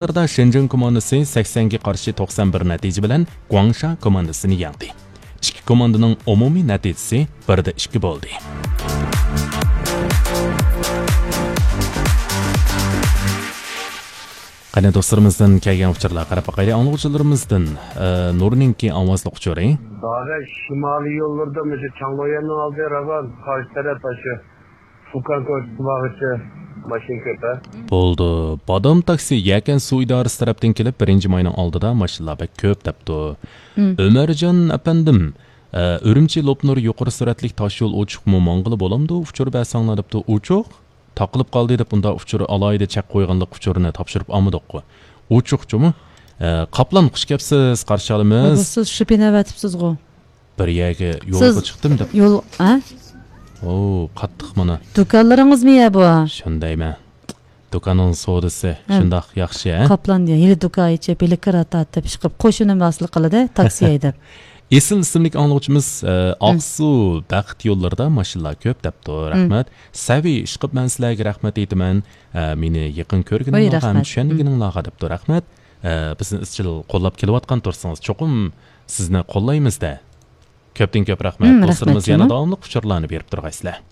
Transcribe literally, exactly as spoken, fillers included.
شىنجاڭ كوماندىسى سەكسەنگە قارشى توقسان بىر نەتىجە بىلەن گۇاڭشا كوماندىسىنى يەڭدى. ئىككى كوماندىنىڭ ئومۇمىي نەتىجىسى بىر دە ئىككى بولدى. قېنى دوستلىرىمىزدىن كەلگەن ئۇچۇرلارغا قاراپ باقايلى. ئاڭلىغۇچىلىرىمىزدىن، ئە، نۇرنىڭكى ئاۋازلىق ئۇچۇرى. دادە، شىمالىي يوللىرىدا مۇشۇ چاڭلۇيەننىڭ ئالدى راۋان، قارشى تەرەپ ئاشۇ فۇكان كوچىسى بارغىچە ماشىنا كۆپ، ھە؟ بولدى. بادام تاكسى يەكەن سۇ ئىدارىسى تەرەپتىن كېلىپ، بىرىنچى ماينىڭ ئالدىدا ماشىنىلار بەك كۆپ دەپتۇ. مم. ئۆمەرجان ئەپەندىم، ئە، ئۈرۈمچى لوپنۇر يۇقىرى سۈرئەتلىك تاشيول ئوچۇقمۇ ماڭغىلى بولامدۇ؟ ئۇچۇر بەرسەڭلار دەپتۇ. ئوچۇق؟ تاقىلىپ قالدى دەپ ئۇنداق ئۇچۇر ئالاھىدە چەك قويغانلىق ئۇچۇرىنى تاپشۇرۇپ ئالمىدۇققۇ. ئوچۇقچۇمۇ؟ ئە، قاپلان، خۇش كەپسىز، قارشى ئالىمىز. سىز شۇپىنى ئەۋەتىپسىزغۇ؟ بىر يەرگە يولغا سىز چىقتىم دەپ. يول، ھە؟ ئو، قاتتىق مانا. دۇكانلىرىڭىزمۇ يە بۇ؟ شۇندايمەن. دۇكاننىڭ سودىسى ھە. شۇنداق ياخشى، ھە؟ قاپلان دېگەن ھېلى دۇكان ئېچىپ، ھېلى كىرا تارتىپ ئىشقىپ، قوشۇنىمۇ ھاسىل قىلىدۇ، تاكسى ھەيدەپ. ئېسىل ئىسىملىك ئاڭلىغۇچىمىز، ئە، ھىم. ئاقسۇ بەخت يوللىرىدا ماشىنىلار كۆپ دەپتۇ. ھىم. رەھمەت. سەۋى ئىشقىپ مەن سىلەرگە رەھمەت ئېيتىمەن. ئە، مېنى يېقىن ۋاي، كۆرگىنىڭلارغا ھەم رەھمەت. چۈشەنگىنىڭلارغا دەپتۇ. رەھمەت. ئە، بىزنى ئىزچىل قوللاپ كېلىۋاتقان تۇرسىڭىز، چوقۇم سىزنى قوللايمىز-دە. كۆپتىن كۆپ رەھمەت. ھىم، دوستلىرىمىز رەھمەت يەنە جۇمۇ. داۋاملىق ئۇچۇرلارنى بېرىپ تۇرغايسىلەر.